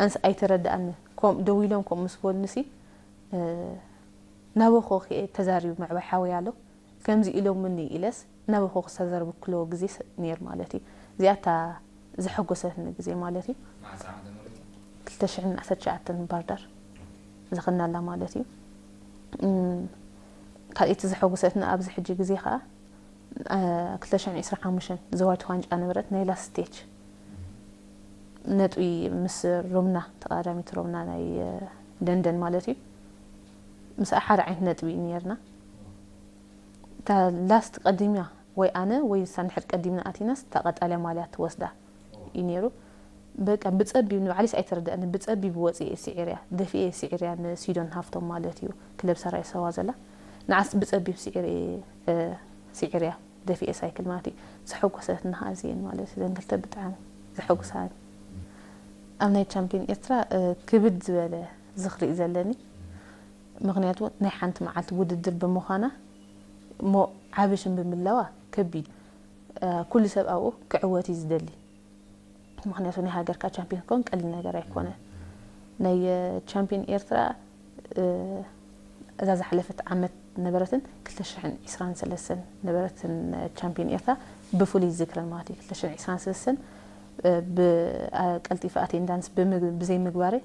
ኣንስ ኣይተረድኣኒ። ከም ደው ኢሎም ከም ምስ በሉንሲ፣ ናበኹ ክኤ ተዛሪቡ ምዕባይ ሓወይ ኣሎ። ከምዚ ኢሎምኒ ኢለስ ናበኹ ክሳዘርቡ ክለዎ ግዜ ነይር ማለት እዩ። እዚኣታ ዘሐጎሰትኒ ግዜ ማለት እዩ። ክልተ ሽሕን ዓሰርተ ትሽዓተን ባርዳር ዝኽናላ ማለት እዩ። ካልእቲ ዘሐጎሰትኒ ኣብዚ ሕጂ ግዜ ከዓ ክልተ ሽሕን ዕስራን ሓሙሽተን ዘዋጅ ዋንጫ ነበረት ናይ ላስት ስቴጅ ነጥቢ ምስ ሮምና፣ ተቐዳዳሚት ሮምና ናይ ደንደን ማለት እዩ። ምስ ሓደ ዓይነት ነጥቢ እዩ ነርና። እታ ላስት ቀዲምያ ወይ ኣነ ወይ ንሳ እንድሕር ቀዲምና ኣቲናስ እታ ቀጣልያ ማልያ ትወስዳ እዩ ነይሩ። በቃ ብጸቢብ ንባዕሊስ ኣይተረድኣኒ፣ ብጸቢብ ወጽየ ስዒርያ፣ ደፊኤ ስዒርያ ንሲዶን ሃፍቶም ማለት እዩ፣ ክለብ ሰራይ ሰዋ ዘላ። ንዓስ ብጸቢብ ስዒር እየ፣ እ፣ ስዒርያ፣ ደፊኤ ሳይክል ማለት እዩ። ዘሐጎሰትኒ ኸዓ እዚኤን ማለት እዩ፣ ዘን ክልተ ብጣዕሚ ዘሐጉሳኒ። ኣብ ናይ ቻምፒዮን ኤርትራ፣ እ፣ ክብድ ዝበለ ዝኽሪ እዩ ዘለኒ። ምኽንያቱ ናይ ሓንቲ መዓልቲ ውድድር ብምዃና እሞ ዓቢ ሽም ብምህላዋ ከቢድ፣ እ፣ ኩሉ ሰብ ኣብኡ ክዕወት እዩ ዝደሊ። ምኽንያቱ ናይ ሃገርካ ቻምፒዮን ክኸውን ቀሊል ነገር ኣይኮነን። ናይ፣ እ፣ ቻምፒዮን ኤርትራ፣ እ፣ እዛ ዝሓለፈት ዓመት ነበረትን ክልተ ሽሕን ዕስራን ሰለስተን ነበረትን፣ እ፣ ቻምፒዮን ኤርትራ ብፍሉይ ዝክረን ማለት እዩ። ክልተ ሽሕን ዕስራን ሰለስተን፣ እ፣ ብ-፣ ኣ-፣ ቀልጢፈ ኣቴንዳንስ ብምግ-፣ ብዘይምግባረይ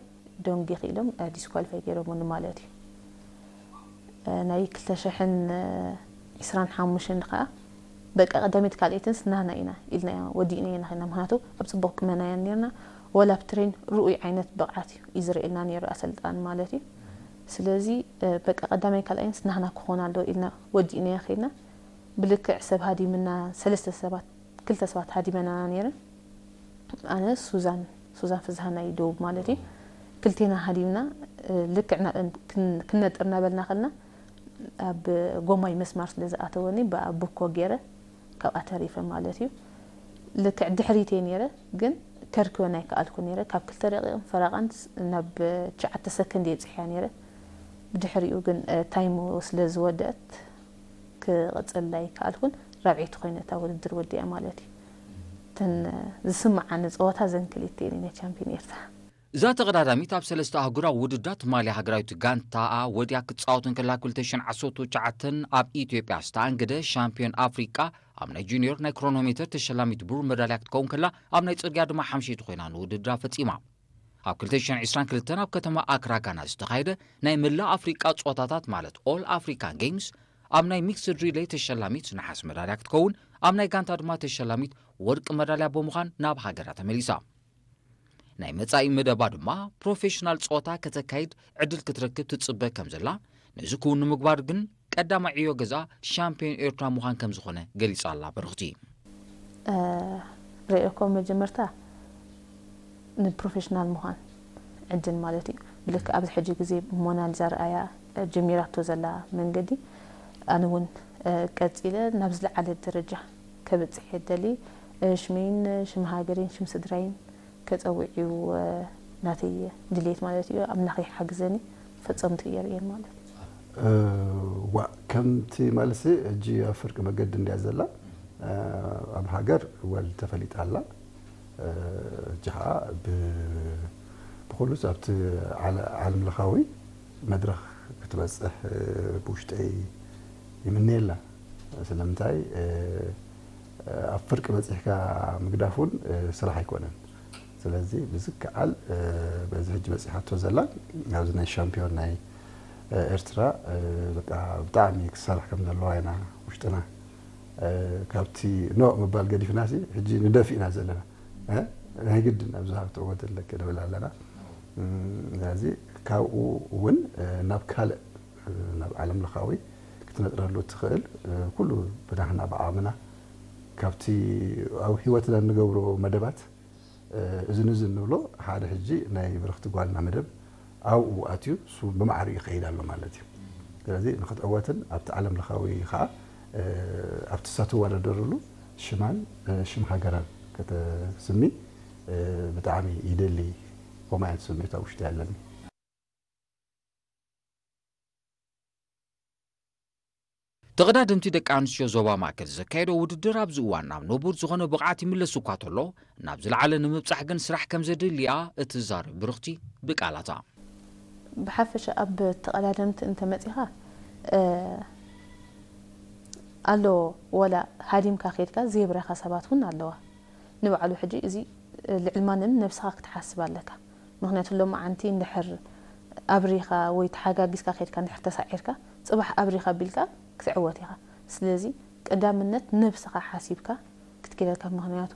ደንጊ ክኢሎም፣ እ፣ ዲስኳሊፋይ ገይሮምኒ ማለት እዩ። እ፣ ናይ ክልተ ሽሕን ዕስራን ሓሙሽተን ከዓ በቃ ቀዳመይቲ ካልኣይትን ስናና ኢና ኢልና ወዲእና ኢና ኸይና። ምኽንያቱ ኣብ ጽቡቕ ቁመና ኢና ነርና። ወላ ኣብ ትሬን ርኡይ ዓይነት ብቕዓት እዩ፣ እዩ ዝርእየልና ነይሩ ኣሰልጣኒ ማለት እዩ። ስለዚ፣ እ፣ በቃ ቀዳማይ ካልኣይን ስናና ክኾን ኣለዎ ኢልና ወዲእና ኸይና። ብልክዕ ሰብ ሃዲምና፣ ሰለስተ ሰባት፣ ክልተ ሰባት ሃዲመና ነይረን። ኣነ ሱዛን፣ ሱዛን ፍዝሃ ናይ ደቡብ ማለት እዩ። ክልቴና ሃዲምና፣ እ፣ ልክዕ ና-፣ ክን-፣ ክንነጥር እናበልና ከልና ኣብ ጎማይ መስማር ስለ ዝኣተወኒ ብኣ-፣ ብኮ ገይረ ካብኣ ተሪፈ ማለት እዩ። ልክዕ ድሕሪተይ ነይረ፣ ግን ከርክበን ኣይከኣልኩ ነይረ። ካብ ክልተ ደቂቕን ፈረቓን ስ-፣ ናብ ትሽዓተ ሰከንድ እየ ብፅሕያ ነይረ። ብድሕሪኡ ግን፣ እ፣ ታይሙ ስለ ዝወደአት ክቕፅል ኣይከኣልኩን። ራብዐይቲ ኮይነ እታ ውድድር ወዲኣ ማለት እዩ። እተን፣ እ፣ ዝስምዓኒ ፀወታ ዘን ክልተ እየን ናይ ቻምፒዮን ኤርትራ። እዛ ተቐዳዳሚት ኣብ ሰለስተ ኣህጉራዊ ውድድራት ማልያ ሃገራዊት ጋንታኣ ወዲያ ክትጻወት እንከላ፣ ክልተ ሽሕን ዓሰርተ ትሽዓተን ኣብ ኢትዮጵያ ዝተኣንገደ ሻምፒዮን ኣፍሪቃ፣ ኣብ ናይ ጁኒዮር ናይ ክሮኖሜተር ተሸላሚት ብሩር መዳልያ ክትከውን ከላ፣ ኣብ ናይ ጽርግያ ድማ ሓምሸይቲ ኮይና ንውድድራ ፈጺማ። ኣብ ክልተ ሽሕን ዕስራን ክልተን ኣብ ከተማ ኣክራ ጋና ዝተኻየደ ናይ መላእ ኣፍሪቃ ጸወታታት ማለት ኦል ኣፍሪካን ጌምስ ኣብ ናይ ሚክስድ ሪሌይ ተሸላሚት ነሓስ መዳልያ ክትከውን፣ ኣብ ናይ ጋንታ ድማ ተሸላሚት ወርቂ መዳልያ ብምዃን ናብ ሃገራ ተመሊሳ። ናይ መጻኢ መደባ ድማ ፕሮፌሽናል ጸወታ ከተካይድ ዕድል ክትረክብ ትጽበ ከም ዘላ፣ ነዚ ክውን ንምግባር ግን ቀዳማይ ዕዮ ገዛ ሻምፒዮን ኤርትራ ምዃን ከም ዝኾነ ገሊጻ ኣላ ብርኽቲ። እ፣ ርእየኮ መጀመርታ ንፕሮፌሽናል ምዃን ዕድል ማለት እዩ። ብልክዕ ኣብዚ ሕጂ ግዜ ሞናሊዛ ርኣያ ጀሚራቶ ዘላ መንገዲ፣ ኣነ እውን፣ እ፣ ቀጺለ ናብ ዝለዓለ ደረጃ ከብጽሕ እየ ደሊ። እ፣ ሽመይን ሽም ሃገረይን ሽም ስድራይን ከጸውዕ እዩ፣ እ፣ ናተይ ድሌት ማለት እዩ። ኣምላኽ ይሓግዘኒ፣ ፈጸምቱ እየ ርእየን ማለት እዩ። እ፣ ዋእ፣ ከምቲ ማለትሲ ሕጂ ኣብ ፍርቂ መገዲ እንድያ ዘላ። እ፣ ኣብ ሃገር ወል ተፈሊጣ ኣላ። እ፣ ሕጂ ኸዓ ብ-፣ ብኹሉስ ኣብቲ ዓለ-፣ ዓለም ለኻዊ መድረኽ ክትበጽሕ፣ እ፣ ብውሽጠይ ይምነየላ። ስለምንታይ፣ እ፣ ኣብ ፍርቂ በጺሕካ ምግዳፍ እውን፣ እ፣ ስራሕ ኣይኮነን። ስለዚ ብዝከኣል፣ እ፣ በዚ ሕጂ በጺሓቶ ዘላ ኣብዚ ናይ ሻምፒዮን ናይ፣ እ፣ ኤርትራ፣ እ፣ በቃ ብጣዕሚ ክትሰርሕ ከም ዘለዋ ኢና ውሽጥና። እ፣ ካብቲ ኖእ ምባል ገዲፍናሲ ሕጂ ንደፊ ኢና ዘለና። እ፣ ናይ ግድን ኣብዚ ሃብቲ እወት ኣለኪ ንብል ኣለና። እም፣ ስለዚ ካብኡ እውን፣ እ፣ ናብ ካልእ፣ እ፣ ናብ ዓለም ለኻዊ ክትነጥረሉ እትኽእል፣ እ፣ ኩሉ ብናህና ብዓቕምና ካብቲ ኣብ ህይወትና እንገብሮ መደባት፣ እ፣ እዝን እዝን ንብሎ ሓደ ሕጂ ናይ ብርኽቲ ጓልና መደብ ኣብኡ ኣትዩ እሱ ብማዕሪኡ ይኸይድ ኣሎ ማለት እዩ። ስለዚ ንክትዕወትን ኣብቲ ዓለም ለኻዊ ኸዓ፣ እ፣ ኣብቲ እትወዳደረሉ ሽማን፣ እ፣ ሽም ሃገራን ከተስሚ፣ እ፣ ብጣዕሚ ይደሊ። ከምኡ ዓይነት ስምዒት ኣብ ውሽጢ ኣለኒ። ተቐዳደምቲ ደቂ ኣንስትዮ ዞባ ማእከል ዘካየዶ ውድድር ኣብዚ እዋን ናብ ንቡር ዝኾነ ብቕዓት ይምለስ እኳ ተሎ፣ ናብ ዝለዓለ ንምብጻሕ ግን ስራሕ ከም ዘድልያ እትዛረብ ብርኽቲ ብቃላታ። ብሓፈሻ ኣብ ተቐዳደምቲ እንተመጺኻ ኣሎ፣ ወላ ሃዲምካ ከድካ ዘይብረኻ ሰባት እውን ኣለዋ። ንባዕሉ ሕጂ እዚ ልዕል ማንም ነብስኻ ክትሓስብ ኣለካ። ምክንያቱ ሎማዓንቲ እንድሕር ኣብሪኻ ወይ ተሓጋጊዝካ ከድካ እንድሕር ተሳዒርካ፣ ጽባሕ ኣብሪኻ ቢልካ ክትዕወት ኢኻ። ስለዚ ቀዳምነት ነብስኻ ሓሲብካ ክትከይድ ኣለካ። ምክንያቱ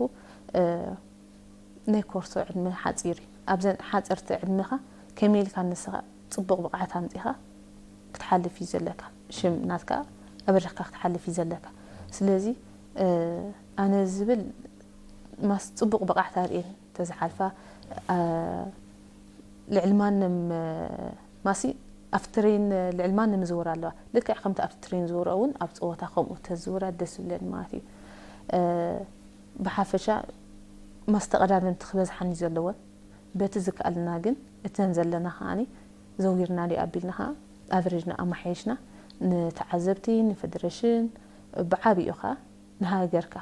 ናይ ኮርሶ ዕድመ ሓፂር እዩ። ኣብዘን ሓፀርቲ ዕድመኻ ከመይ ኢልካ ንስኻ ፅቡቕ ብቕዓት ኣምፂኻ ክትሓልፍ እዩ ዘለካ። ሽም ናትካ ኣብሪኽካ ክትሓልፍ እዩ ዘለካ። ስለዚ ኣነ ዝብል ማስ ፅቡቕ ብቕዓት ኣርእየን ተዝሓልፋ ልዕሊ ማንም ማሲ ኣብቲ ትሬን ልዕሊ ማንም ዝውር ኣለዋ። ልክዕ ከምቲ ኣብቲ ትሬን ዝውር እውን ኣብ ፀወታ ከምኡ ተዝውራ ደስ ዝብለኒ ማለት እዩ። ብሓፈሻ ማስ ተቐዳደምቲ ክበዝሓን እዩ ዘለወን። በቲ ዝከኣልና ግን እተን ዘለና ከዓኒ ዘውጊርና ዲኣ ኣቢልና ከዓ ኣቨሬጅና ኣማሓየሽና ንተዓዘብቲ ንፌደሬሽን ብዓብኡ ከዓ ንሃገርካ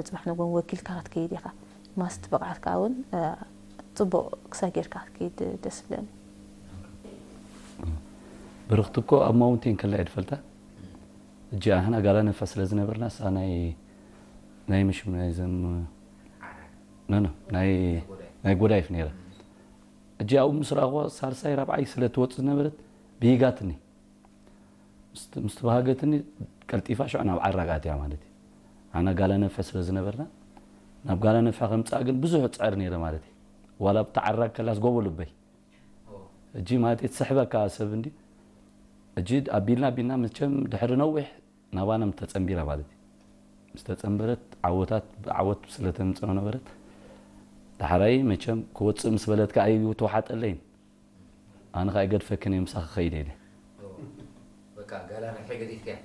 ፅባሕ ንጎን ወኪልካ ክትከይድ ኢኻ። ማስት ብቕዓትካ እውን ፅቡቕ ክሳይ ጌርካ ክትከይድ ደስ ብለኒ። ብርኽቲ እኮ ኣብ ማውንቴን ከላ እየ ዝፈልጣ። እጂ ኣህና ጋላ ነፋ ስለ ዝነበርና እሳ ናይ ናይ ምሽም ናይ ዘም ነነ ናይ ናይ ጎዳይፍ ነይረ። እጂ ኣብኡ ምስ ረኣኹዋ ሳልሳይ ራብዓይ ስለ ትወፅእ ዝነበረት ብሂጋትኒ ምስ ተባሃገትኒ ቀልጢፋ ሽዑ ናብ ዓራግ ኣትያ ማለት እዩ። ኣና ጋላ ነፈ ስለ ዝነበርና ናብ ጋላ ነፈ ከምፃእ ግን ብዙሕ ፅዕር ነይረ ማለት እዩ። ዋላ ኣብቲ ዓራግ ከላስ ጎቦ ልበይ እጂ ማለት እዩ ትስሕበካ ሰብ እንዲ እጂ ኣቢልና ኣቢልና መቸም ድሕሪ ነዊሕ ናባና ምተፀንቢራ ማለት እዩ። ምስ ተፀንበረት ዓወታት ብዓወት ስለ ተምፅኦ ነበረት። ዳሕራይ መቸም ክወፅእ ምስ በለትካ ኣይተዋሓጠለይን። ኣነ ከዓ ይገድፈክን እየ ምሳኺ ክኸይድ ኢለ።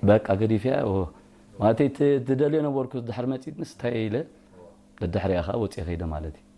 በቃ ገዲፍያ ማለት ትደልዮ ነበርኩ ድሕር መፂት ንስታይ ኢለ ደድሕሪያ ከዓ ወፅየ ከይደ ማለት እዩ።